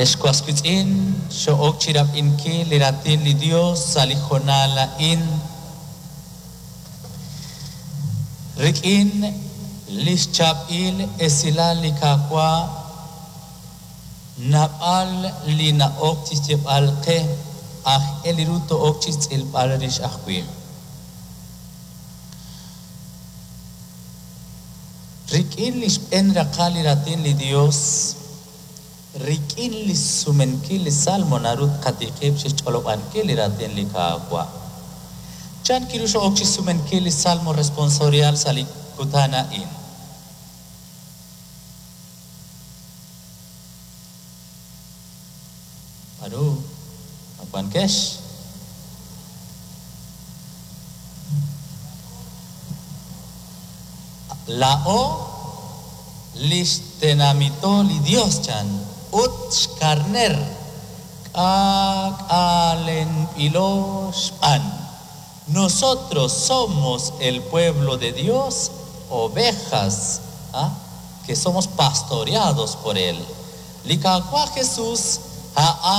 Ex was wiitz'in, xo'ok chi rab'inkil li raatin li Dios sa' li hoonal a'in. Rik'in lix chaab'il esilal li Qaawa', naab'al li na'ok chi xyeeb'al qe, aajel ru to'ok chi xtz'ilb'al rix ajwi'. Rik'in li xb'een raqal li raatin li Dios, rik'in li xsumenkil li Salmo naru tqatiqib' chi xch'olob'ankil li raatin li Qaawa'. Chan kiru xo'ok chi xsumenkil li Salmo responsorial sa' li kutan a'in? B'aru, ma wankex? Laa'o lix tenamito li Dios, chan, ut xkarneer k'aak'alenb'ilo xb'aan. Nosotros somos el pueblo de Dios, ovejas, ¿ah? que somos pastoreados por Él. Li Qaawa' Jesús a'an.